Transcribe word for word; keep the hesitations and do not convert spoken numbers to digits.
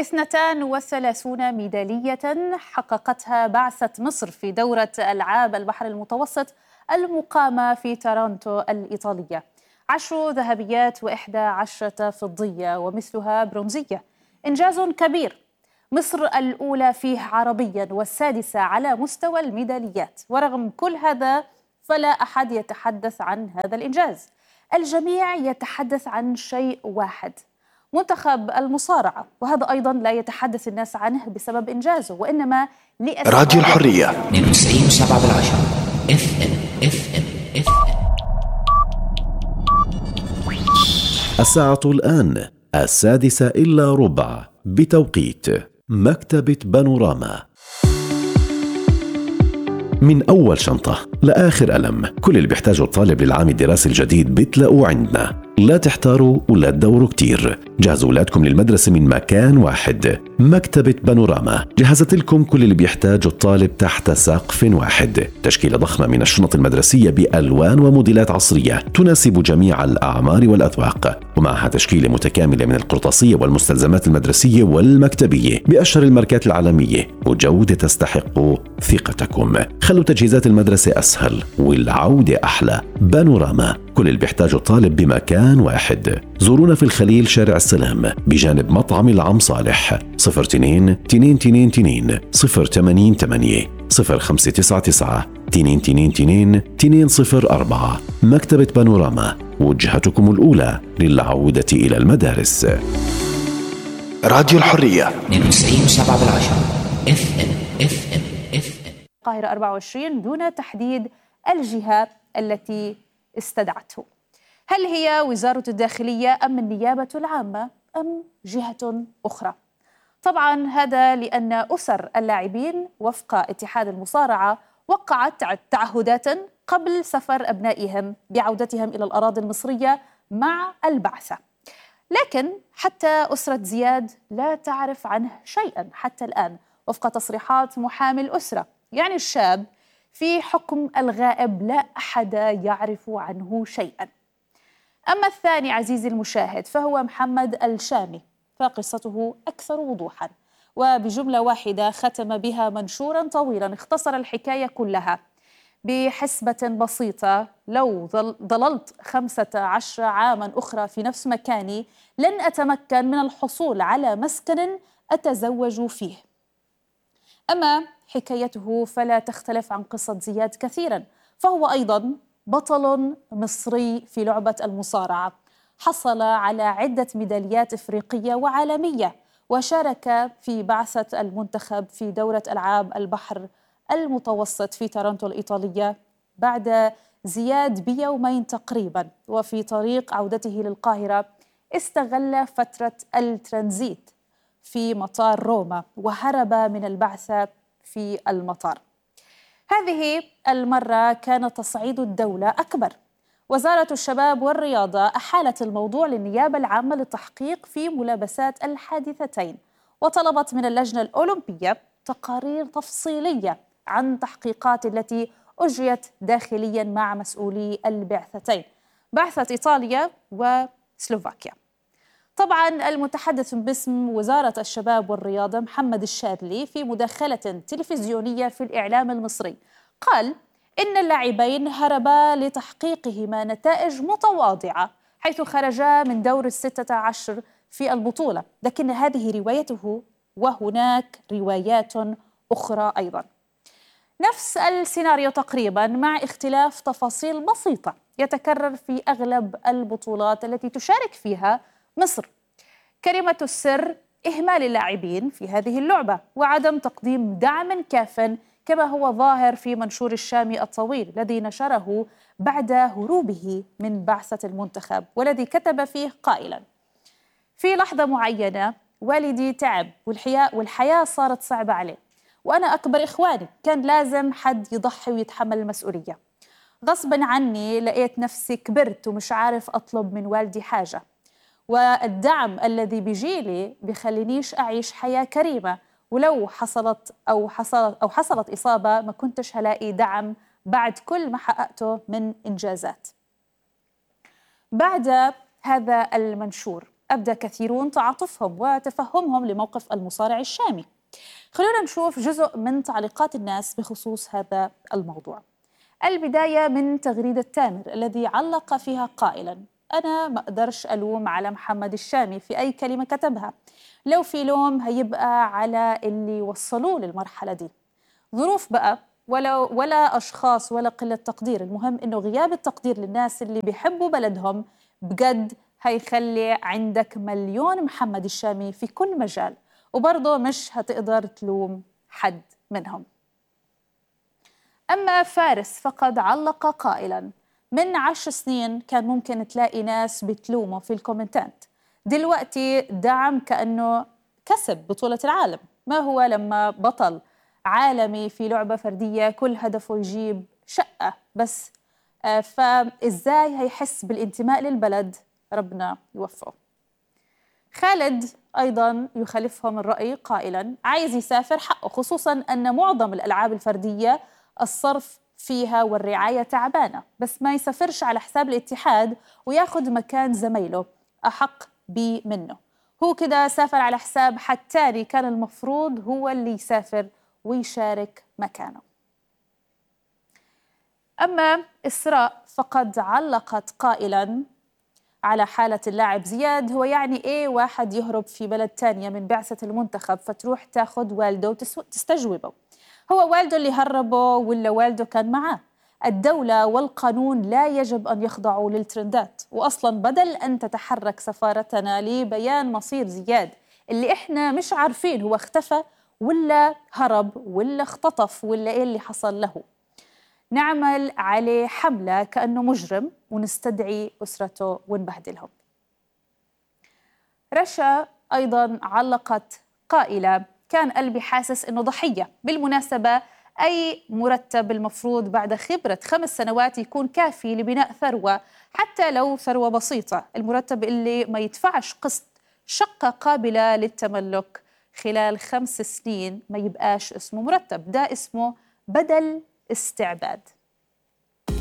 اثنتان وثلاثون ميدالية حققتها بعثة مصر في دورة ألعاب البحر المتوسط المقامة في تورونتو الإيطالية. عشر ذهبيات وإحدى عشرة فضية ومثلها برونزية، إنجاز كبير. مصر الأولى فيه عربيا والسادسة على مستوى الميداليات، ورغم كل هذا فلا أحد يتحدث عن هذا الإنجاز. الجميع يتحدث عن شيء واحد، منتخب المصارعة، وهذا أيضا لا يتحدث الناس عنه بسبب إنجازه، وإنما لأسباب. راديو الحرية اثنين وتسعين وسبعة بالعشرة اف ام اف ام اف ام. الساعة الآن السادسة إلا ربع بتوقيت مكتبة بانوراما. من أول شنطة لآخر قلم، كل اللي بيحتاجه الطالب للعام الدراسي الجديد بتلاقوه عندنا. لا تحتاروا ولا تدوروا كتير، جهزوا أولادكم للمدرسة من مكان واحد. مكتبة بانوراما جهزت لكم كل اللي بيحتاجه الطالب تحت سقف واحد. تشكيلة ضخمة من الشنط المدرسية بألوان وموديلات عصرية تناسب جميع الأعمار والأذواق، ومعها تشكيلة متكاملة من القرطاسية والمستلزمات المدرسية والمكتبية بأشهر الماركات العالمية، وجودة تستحق ثقتكم. خلوا تجهيزات المدرسة أسهل والعودة أحلى. بانوراما، كل اللي بيحتاجه الطالب بمكان واحد. زورونا في الخليل شارع السلام بجانب مطعم العم صالح. صفر اثنين تنين تنين تنين صفر ثمانين ثمانية صفر خمسة تسعة تسعة تنين تنين تنين تنين صفر أربعة. مكتبة بانوراما، وجهتكم الأولى للعودة إلى المدارس. راديو الحرية اثنين وتسعين وسبعة بالعشرة اف ام اف ام اف ام. القاهرة أربعة وعشرين دون تحديد الجهة التي استدعته. هل هي وزارة الداخلية أم النيابة العامة أم جهة أخرى؟ طبعا هذا لأن أسر اللاعبين وفق اتحاد المصارعة وقعت تعهدات قبل سفر أبنائهم بعودتهم إلى الأراضي المصرية مع البعثة، لكن حتى أسرة زياد لا تعرف عنه شيئا حتى الآن وفق تصريحات محامي الأسرة. يعني الشاب في حكم الغائب، لا أحد يعرف عنه شيئا. أما الثاني عزيزي المشاهد فهو محمد الشامي، فقصته أكثر وضوحا، وبجملة واحدة ختم بها منشورا طويلا اختصر الحكاية كلها بحسبة بسيطة: لو ظللت خمسة عشر عاما أخرى في نفس مكاني لن أتمكن من الحصول على مسكن أتزوج فيه. أما حكايته فلا تختلف عن قصة زياد كثيرا، فهو أيضا بطل مصري في لعبة المصارعة، حصل على عدة ميداليات إفريقية وعالمية، وشارك في بعثة المنتخب في دورة ألعاب البحر المتوسط في تورونتو الإيطالية بعد زياد بيومين تقريبا. وفي طريق عودته للقاهرة استغل فترة الترانزيت في مطار روما وهرب من البعثة في المطار. هذه المرة كان تصعيد الدولة أكبر. وزارة الشباب والرياضة أحالت الموضوع للنيابة العامة للتحقيق في ملابسات الحادثتين، وطلبت من اللجنة الأولمبية تقارير تفصيلية عن تحقيقات التي أجريت داخليا مع مسؤولي البعثتين، بعثة إيطاليا وسلوفاكيا. طبعا المتحدث باسم وزارة الشباب والرياضة محمد الشاذلي في مداخلة تلفزيونية في الإعلام المصري قال إن اللاعبين هربا لتحقيقهما نتائج متواضعة حيث خرجا من دور الستة عشر في البطولة، لكن هذه روايته وهناك روايات أخرى أيضا. نفس السيناريو تقريبا مع اختلاف تفاصيل بسيطة يتكرر في أغلب البطولات التي تشارك فيها مصر. كلمة السر إهمال اللاعبين في هذه اللعبة وعدم تقديم دعم كاف، كما هو ظاهر في منشور الشامي الطويل الذي نشره بعد هروبه من بعثة المنتخب، والذي كتب فيه قائلا: في لحظة معينة والدي تعب والحياة, والحياة صارت صعبة عليه، وأنا أكبر إخواني كان لازم حد يضحي ويتحمل المسؤولية. غصبا عني لقيت نفسي كبرت ومش عارف أطلب من والدي حاجة، والدعم الذي بيجيلي بيخلينيش أعيش حياة كريمة، ولو حصلت أو حصلت أو حصلت إصابة ما كنتش هلاقي دعم بعد كل ما حققته من إنجازات. بعد هذا المنشور أبدى كثيرون تعاطفهم وتفهمهم لموقف المصارع الشامي. خلونا نشوف جزء من تعليقات الناس بخصوص هذا الموضوع. البداية من تغريدة تامر الذي علق فيها قائلاً: أنا ما أقدرش ألوم على محمد الشامي في أي كلمة كتبها، لو في لوم هيبقى على اللي وصلوه للمرحلة دي. ظروف بقى ولا, ولا أشخاص ولا قلة تقدير، المهم إنه غياب التقدير للناس اللي بيحبوا بلدهم بجد هيخلي عندك مليون محمد الشامي في كل مجال، وبرضه مش هتقدر تلوم حد منهم. أما فارس فقد علق قائلاً: من عشر سنين كان ممكن تلاقي ناس بتلومه في الكومنتات، دلوقتي دعم كأنه كسب بطولة العالم. ما هو لما بطل عالمي في لعبة فردية كل هدفه يجيب شقة بس، آه فإزاي هيحس بالانتماء للبلد؟ ربنا يوفقه. خالد أيضاً يخالفهم الرأي قائلاً: عايز يسافر حقه، خصوصاً أن معظم الألعاب الفردية الصرف فيها والرعاية تعبانة، بس ما يسافرش على حساب الاتحاد وياخد مكان زميله أحق بي منه. هو كده سافر على حساب حد تاني كان المفروض هو اللي يسافر ويشارك مكانه. أما إسراء فقد علقت قائلاً على حالة اللاعب زياد: هو يعني إيه واحد يهرب في بلد تانية من بعثة المنتخب فتروح تاخد والده وتستجوبه؟ هو والده اللي هربه ولا والده كان معاه؟ الدولة والقانون لا يجب أن يخضعوا للترندات، وأصلا بدل أن تتحرك سفارتنا لبيان مصير زياد اللي إحنا مش عارفين هو اختفى ولا هرب ولا اختطف ولا إيه اللي حصل له، نعمل عليه حملة كأنه مجرم ونستدعي أسرته ونبهدلهم. رشا أيضا علقت قائلة: كان قلبي حاسس إنه ضحية. بالمناسبة أي مرتب المفروض بعد خبرة خمس سنوات يكون كافي لبناء ثروة، حتى لو ثروة بسيطة. المرتب اللي ما يدفعش قسط شقة قابلة للتملك خلال خمس سنين ما يبقاش اسمه مرتب، ده اسمه بدل استعباد.